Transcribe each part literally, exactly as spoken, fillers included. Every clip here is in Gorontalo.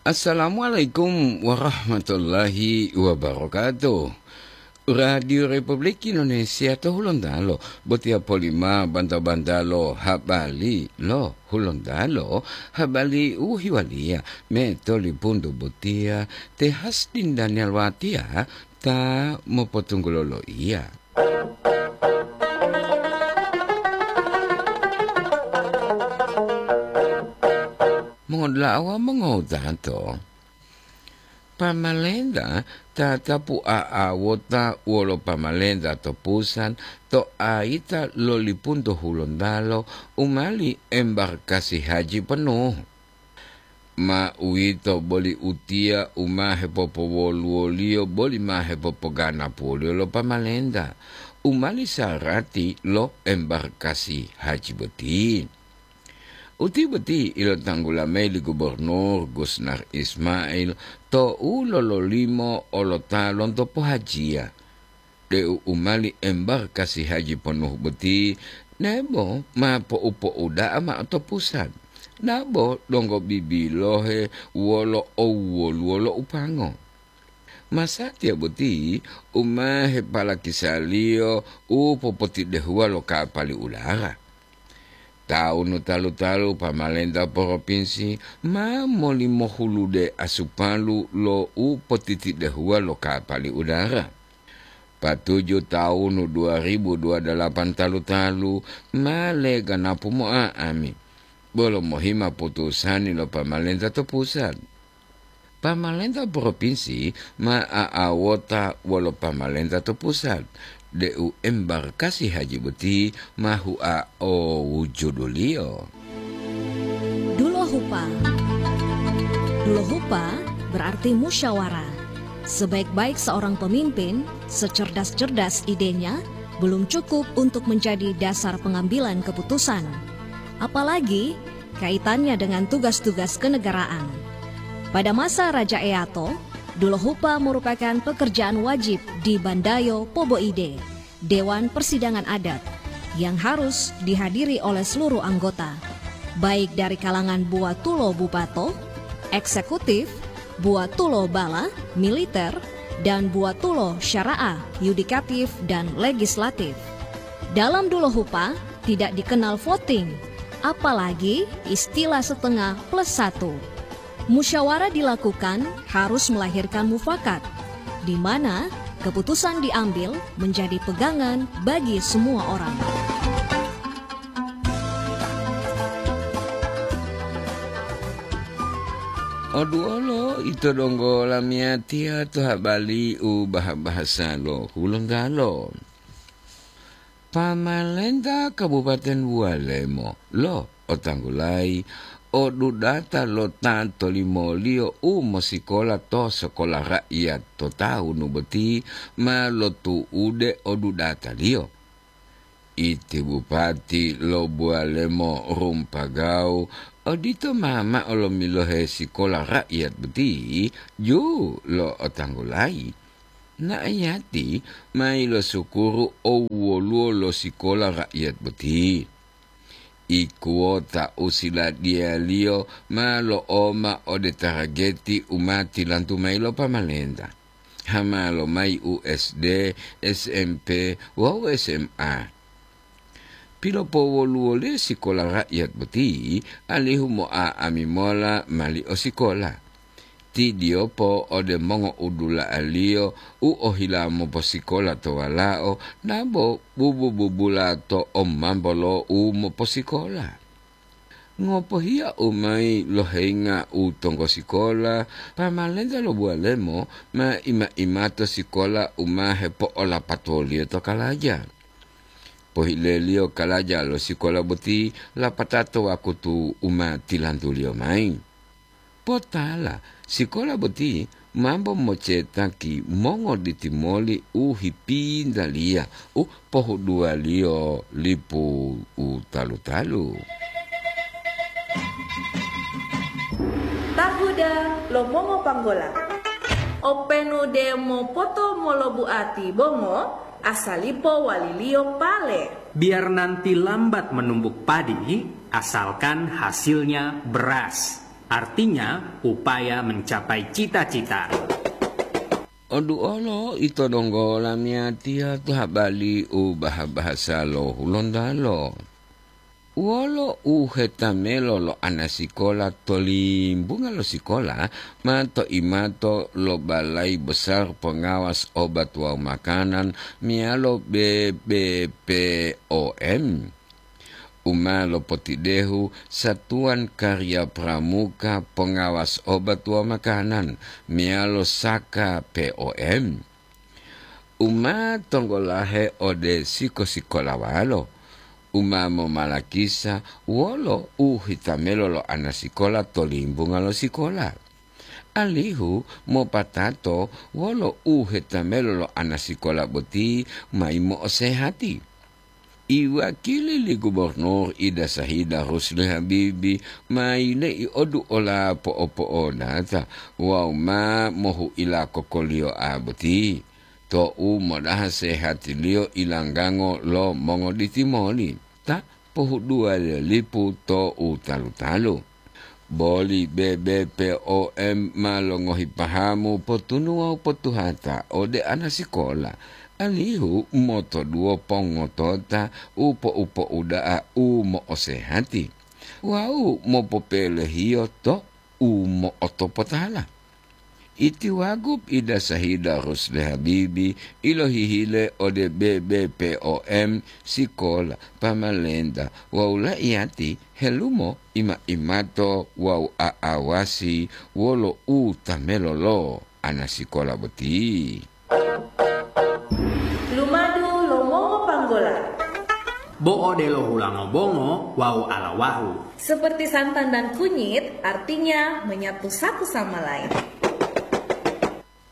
Assalamualaikum warahmatullahi wabarakatuh. Radio Republik Indonesia to Hulontalo, botiya polima banta-banta lo habari lo Hulontalo, habari u hiwaliya me to lipuntu botiya te Hasdin Daniel Watiya ta mopotunggulo loiya. Mongodula'a wawu mongowutato, pamalenta tatapu a'awota wolo pamalenta to pusat to ayita lo lipunto Hulontalo u mali embarkasi haji penuh. Ma uwito boli utiya u ma hepopowoluwoliyo boli ma hepopoganapuwoliyo lo pamalenta, u mali sarati lo embarkasi haji boti. Uti boti ilotanggula mayi li Gubernur Gusnar Ismail tou lololimo olota lonto pohajiya, deu u mali embarkasi haji ponuhu boti nebo ma po'upo'uda'a ma'o to pusat, nabo donggo bibilohe wolo owwoluwo lo upango. Masatiya boti u ma hepalakisaliyo u popotidehuwa lo kapali udara. Tawunu talu-talu pamalenta poropinsi ma molimohulude asupalu lo u potitidehuwa lo kapali udara. Patuju tawunu dua ribu dua dalapan talu-talu ma leganapu mo'a'ami, bolo mohima putusani lo pamalenta to pusat. Pamalenta propinsi ma a'awota wolo pamalenta to pusat, deu embarkasi haji boti ma hua o wujuduliyo. Dulohupa. Dulohupa berarti musyawarah. Sebaik-baik seorang pemimpin, secerdas-cerdas idenya, belum cukup untuk menjadi dasar pengambilan keputusan. Apalagi kaitannya dengan tugas-tugas kenegaraan. Pada masa Raja Eato, dulohupa merupakan pekerjaan wajib di Bandayo Poboide, Dewan Persidangan Adat, yang harus dihadiri oleh seluruh anggota, baik dari kalangan buatulo bupato, eksekutif, buatulo bala, militer, dan buatulo syara'ah, yudikatif, dan legislatif. Dalam dulohupa tidak dikenal voting, apalagi istilah setengah plus satu. Musyawarah dilakukan harus melahirkan mufakat, di mana keputusan diambil menjadi pegangan bagi semua orang. Oduolo ito donggo lamiyatiya to habali u baha-bahasa lo Hulontalo. Pamalenta Kabupaten Bualemo lo otanggulayi odudata lo ta tolimoliyo u mosikola to sekolah rakyat to tawunu boti ma lotu'ude odudataliyo. Iti bupati lo Bualemo Rumpagau odito ma mao lomilohe sikola rakyat boti ju lo otanggulayi. Na'ayati ma ilosukuru owwoluwo lo sikola rakyat boti. Ikuwota u siladiyaliyo ma lo'oma ode tarageti u ma tilantu mayi lo pamalenta. Hama lomayi u S D, S M P wawu S M A. Pilopowoluwoliyo sikola rakyat boti alihu mo'a'ami mola mali o sikola. Tidiyopo ode mongo'udula'aliyo u ohila moposikola to walao nabo bubu-bubula to omambo lo u moposikola. Ngopohiya u mayi lohenga u tonggo sikola, pamalenta lo Bualemo ma ima-imato sikola u ma hepo'olapatoliyo to kalaja. Pohileliyo kalaja lo sikola boti lapatao to wakutu u ma tilantuliyo mayi. Potala, sikola boti mambo mocetaki mongoditimoli u hipintaliya u pohuduwaliyo lipu u talu-talu. Tahuda lo mongopanggola. Openu demo poto molobuati bongo, asalipo waliliyo pale. Biar nanti lambat menumbuk padi, asalkan hasilnya beras. Artinya, upaya mencapai cita-cita. Oduolo ito donggo lamiyatiya to habali u baha-bahasa lo Hulontalo. Wolo u hetamelo lo anasikola to limbunga lo sikola ma to imato lo Balai Besar Pengawas Obat wawu Makanan meyalo B B P O M, u ma lopotidehu Satuan Karya Pramuka Pengawas Obat wawu Makanan meyalo Saka P O M, u ma tonggolahe ode siko-sikolawalo, u ma momalakisa wolo u hitamelo lo anasikola to limbunga lo sikola, alihu mopatato wolo u hetamelo lo anasikola boti mayi mo'osehati. Iwakili li Gubernur Ida Sahida Rusli Habibi ma yile'i odu ola po'opo'odata wawu ma mohu'ila kokoliyoa boti, to'u modaha sehatiliyo ilanggango lo mongoditimoli ta pohuduwa lipu to u talu-talu. Boli B B P O M ma longohi pahamu potunu wawu potuhata ode anasikola, alihu motoduwo pongotota u po'upo'uda'a u mo'osehati wawu mopopelehiyo to u mo'otopotala. Iti Wagub Ida Sahida Rusli Habibi ilohihile ode B B P O M sikola, pamalenta wawu laiyati helumo ima-imato wawu a'awasi wolo u tamelo lo anasikola boti. Lumadu lo mongo panggola. Bo odelo hulango bongo wawu alawahu. Seperti santan dan kunyit, artinya menyatu satu sama lain.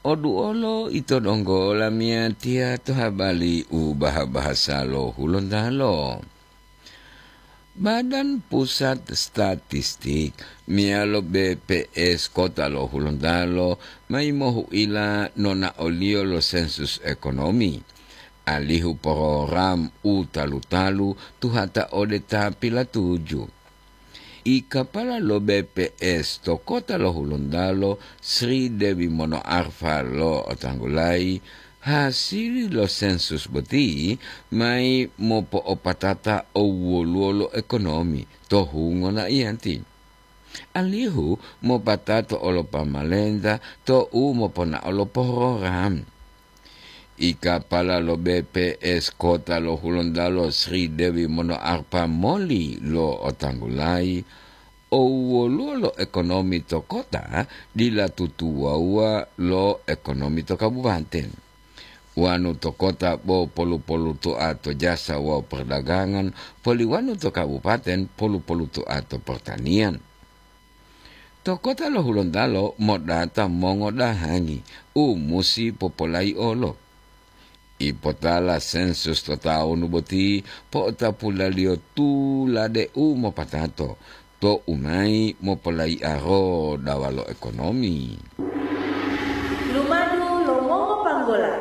Oduolo ito donggo lamiyatiya to habali u baha-bahasa lo Hulontalo. Badan Pusat Statistik meyalo B P S Kota lo Hulontalo mayi mohu'ila nonaoliyo lo sensus ekonomi, alihu program u talu-talu tuhata ode ta pilatuju. I kapala lo B P S to Kota lo Hulontalo, Sri Dewi Monoarfa lo'otanggulayi, hasili lo sensus boti mayi mopo'opatata owoluwo lo ekonomi to hungo na'iyanti, alihu mopatato olo pamalenta to u moponao lo program. I kapala lo B P S Kota lo Hulontalo, Sri Dewi Monoarfa moli lo'otanggulayi, owoluwo lo ekonomi to kota dila tutuwawuwa lo ekonomi to kabupaten. Wanu to kota bo polu-poluto'a to jasa wawu perdagangan, poli wanu to kabupaten polu-poluto'a to pertanian. To Kota lo Hulontalo modata mongodahangi u musi popolaiolo. Ipotala sensus to tawunu boti po'otapulaliyo tulade u mopatato to u mayi mopolaiaro dawa lo ekonomi. Lumadu lo mongo panggola.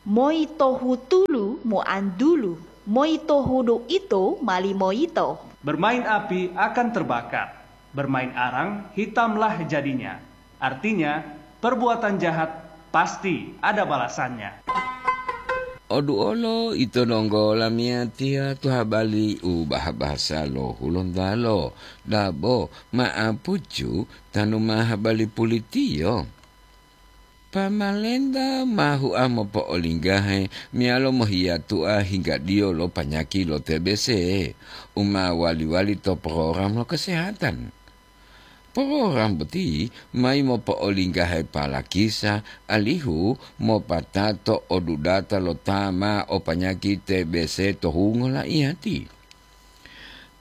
Moi tohu tulu moantulu, moi tohu do ito mali moyito. Bermain api akan terbakar, bermain arang hitamlah jadinya. Artinya, perbuatan jahat pasti ada balasannya. Oduolo ito donggo lamiyatiya to habali u baha-bahasa lo Hulontalo, dabo ma'apucu tanu ma habali pulitiyo. Pamalenta ma hua mopo'olinggahe meyalo mohiyatu'a hinggadiyo lo panyaki lo T B C u ma wali-wali to program lo kesehatan. Program boti mayi mopo'olinggahe palakisa alihu mopatato odudata lo ta ma o panyaki T B C to hungo laiyati.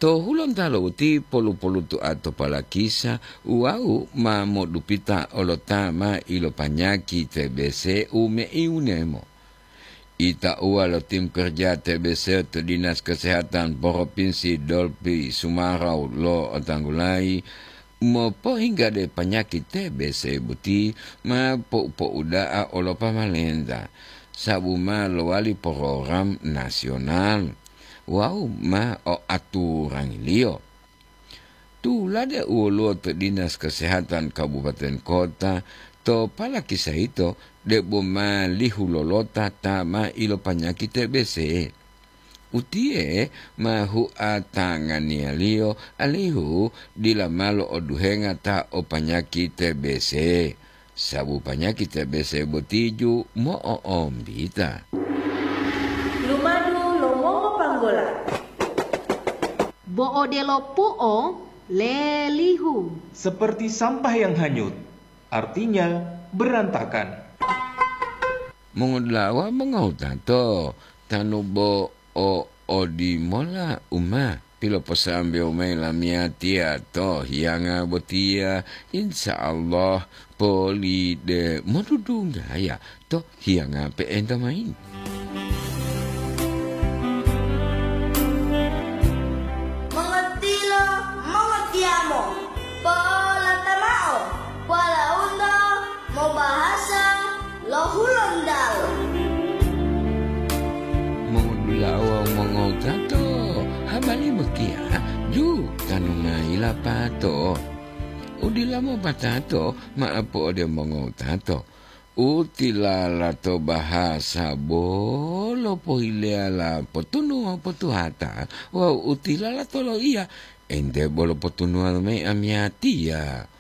To Hulontalo boti polu-poluto'a to palakisa wawu ma modupita olo ta ma ilopanyaki T B C u meiwunemo. Itauwa lo tim kerja T B C to Dinas Kesehatan Provinsi Dolpi Sumarau lo'otanggulayi mopohinggade panyaki T B C boti ma po'upo'uda'a olo pamalenta, sabu ma lowali program nasional wawu ma o aturangiliyo. Tulade u woluwo to Dinas Kesehatan Kabupaten Kota, to palakisa yito debo ma lihu lolota ta ma ilopanyaki T B C. Utiye ma hua tanganiyaliyo alihu dila ma lo'oduhenga ta o panyaki T B C, sabu panyaki T B C botiju mo'o'ombita. Lumadu lo mongopanggola. Bo odelo pu'o lelihu. Seperti sampah yang hanyut, artinya berantakan. Mongodula'a wawu mongowutato, tanu bo o odimola u ma piloposambewo mayi lamiyatiya to hiyanga botiya, insya Allah poli de modudunggaya to hiyanga pe'enta mayi. Mongotilo, mongotiyamo, polata mao, polaunto mobahasa lo Hulontalo. Mongudula'a wawu mongowutato, habari botiya ju tanu mayi lapato. Udila mopatato ma'apu ode mongowutato. Utilala to bahasa bolo pohileyala potunuwa potuhata wawu utilala to loiya ente bolo potunuwa mayi amiyatiya.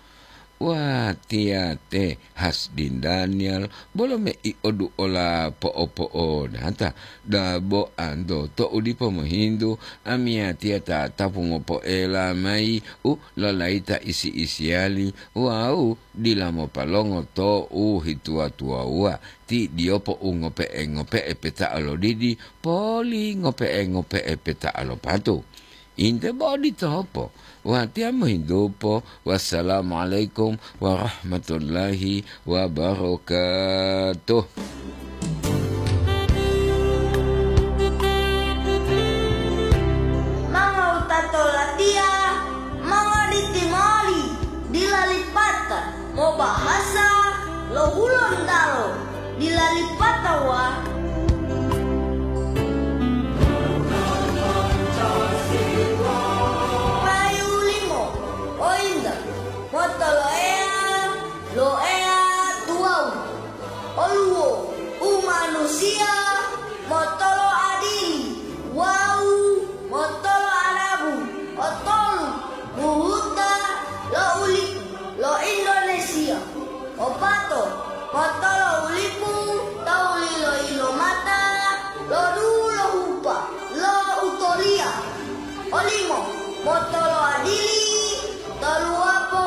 Watiya te Hasdin Daniel bolo mei oduola po'opo'odata, dabo anto to'u dipo mohintu amiyatiya tatapu mopoela mayi u lolayita isi-isiyali wawu dila mopalongo to u hituwa-tuwawuwa, ti diyopo u ngope'e-ngope'e peta'a lo didi poli ngope'e-ngope'e peta'a lo patu. Inte bo oditopo, watiya mohintupo. Wassalamualaikum warahmatullahi wabarakatuh. Mangowutato latiya, mongoditi moli, dila lipata mobahasa lo Hulontalo, dila lipata wa payu limo, o inta motoloeya lo Eya tuwawu. Oluwo umanusiya motolo adili wawu motolo adabu, otolu buhuta lo ulipu lo Indonesia, opato motolo